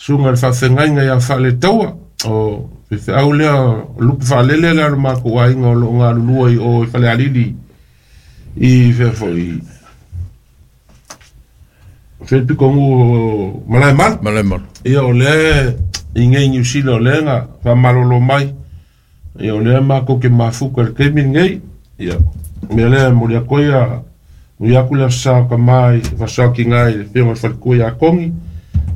Susuga i le Faafeagaiga ia Faaletaua, o faifeau lea o lupe faalele lea o le matou aiga o lo o galulue i o i Falealili i fea foi fea le pitonuu o Malaemalu. Malaemalu. Ia o lea i nei Niu Sila o lea na faamalolo mai. Ia o lea matou te mafuta i le taimi lenei. Ia o mea lea e momoli atu ai ia nui atu le Aso Sa o Tama i Aso Sa o Tina i le Afioga i le Faletua ia Tony.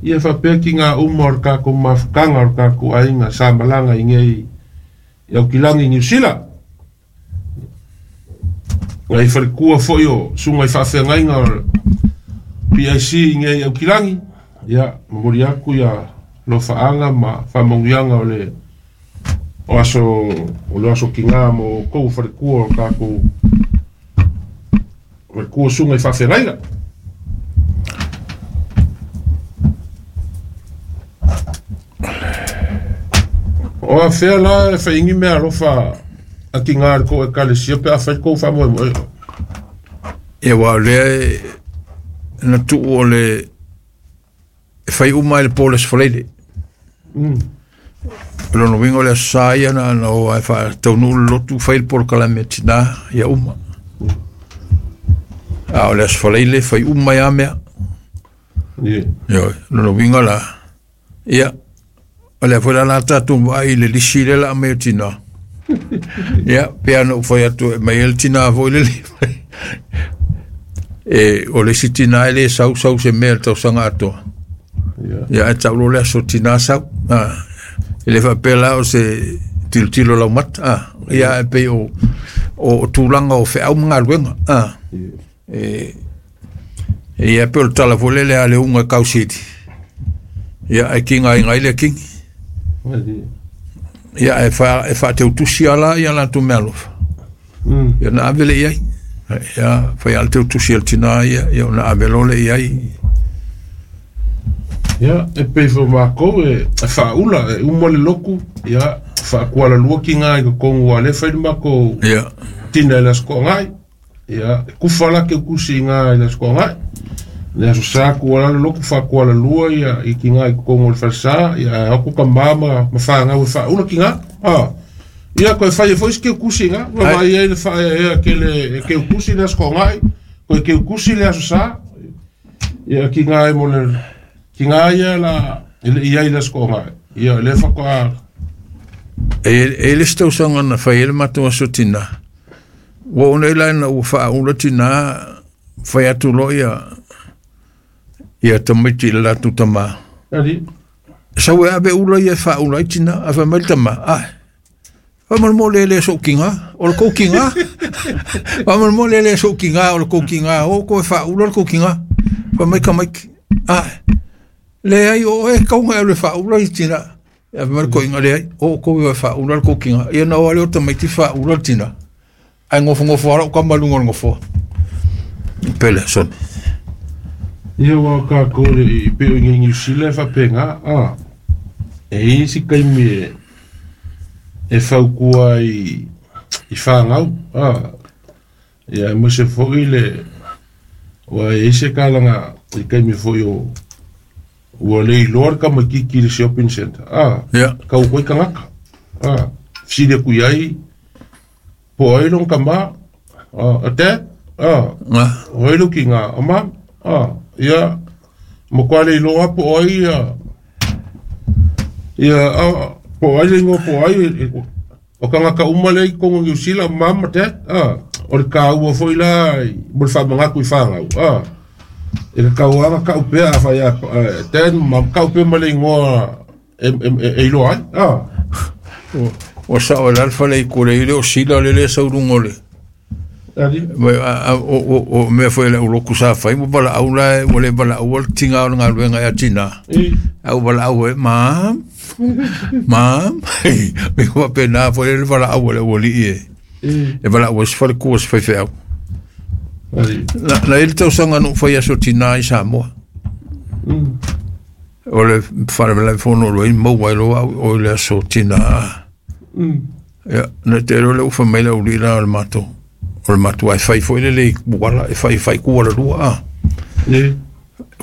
Ia faapea tina uma o le tatou mafutaga o le tatou aiga sa malaga i nei i Aukilani i Niu Sila. Nai faletua foi o susuga i faafeagaiga o le PIC i nei Aukilani, ia momoli atu ia alofaaga ma faamanuiaga o le o aso o le aso tina mo outou faletua o tatou faletua susuga i faafeagaiga. O afea la e fai ni mea alofa a tina i le tou ekalesia pe a fai le tou faamoemoe? Ia aua o lea e na tuu o le e fai uma i le po o le Aso Faraile. O lona uiga o le Aso Sa ia na ona o lava e faataunuu le lotu fai le polokalame a tina ia uma. A o le Aso Faraile fai uma ai lava mea. Ioe, o lona uiga la, ia, o lea foi la o le a tatou vaai i le lisi lea o le a aumai o tina. Ia, pei lava ona ou fai atu e aumai ai le tina foi lele. E, o le isi tina e le sau sau se mea i le tausaga atoa. Ia, ae tau loa le aso tina sau. Ah, e le faapea la o se tilotilo laumata. Ah, ia, ae pei o, o, o tulaga o feau ma galuega. Ah, e, ia pei o le tala foi lele a le uga e kausili. Ia, ae kiga ai le kingi. Ia, ae fa, e faateutusi lava la ia latou meaalofa. Ia ona ave lea i ai. Ia, fai lava le teutusi a le tina ia, ia ona ave loa lea i ai. Ia, e pei foi o matou e faaula, e uma le lotu, ia, faakualalua tiga i totonu aua o lea e fai le matou tina i le Aso Toonai. Ia, e kufa la teutusi i ina i le Aso Toonai. Le Aso Sa tuu ala le lotu faakualalua ia i tiga i totonu o le falesa, ia ae o atu tama ma fanau e faaula tiga. A, ia toe fai ai foi si teutusi i ina, ua vaai ai le faaeaea tele e teutusi le Aso Toonai, toe teutusi le Aso Sa. Ia tiga e mo le tiga ia la e le i ai i le Aso Toonai. Ia lea faatoa E i ai le isi tausaga na fai ai le matou aso tina, Ua oo nei la ina ua faaula tina, fai atu loa ia ia tamaiti i le latou tama. Ali. Sau e ave ula ia e faaula ai tina, ae fai mai le tama, ai, faamolemole e le sou tiga, o le tou tiga. Faamolemole e le sou tiga, o le tou tiga, o outou e faaula le tou tiga. Fai mai tamaiti, ai, leai o oe e tatau ona e alu e faaula le tina. Ia fai mai le toeaina, leai, o outou e faaula le tou tina. Ia ona o lava lea o tamaiti faaula le tina, ae nofonofo lava lau tama i luga o le nofoa. Pele, Sonny. Ia aua o tatou e pei o i inei i Niu Sila e faapena, a, e i ai isi taimi e fautua ai i fanau, a, ia aemaise foi le, aua e i ai se tala i taimi foi o Ua le iloa le tamaitiiti i le shopping centre, a, Ia. tau atu ai tagata, a, fesili atu i ai, po o ai lona tama, a, a dad, a, Ah. o ai lou tina, a mum, a, ia, matua le iloa po o ai ia, ia, a, po o ai le igoa po o ai, o tagata uma lea i totonu o Niu Sila, mum ma dad, a, o le taua foi la mo le faamanatu i fanau, a. E tatau lava ona tau pea afai a dad ma mum, tau pea ma le igoa e iloa ai, a. Ua sao e la le fale i kule i le o sila le le sau luga o le Ali. O mea foi le uloku sa fai ua valaau la ua le valaau le tiga o le galuega ia tina. A ua valaau e mam mam me ua pena foi le valaau le ualii e. E valaau ai se falekua se faifeau. Na, na i le tausaga na ou fai aso tina i Samoa. O le faalavelave fono o i maua ai loa au o le aso tina. Ia, na te loa le ufa mai le aulii la o le matou. O le matou ai fai foi lele i kuala, e fai fai kuala lua a.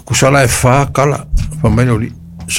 Kusala e fa kala, fai mai le aulii.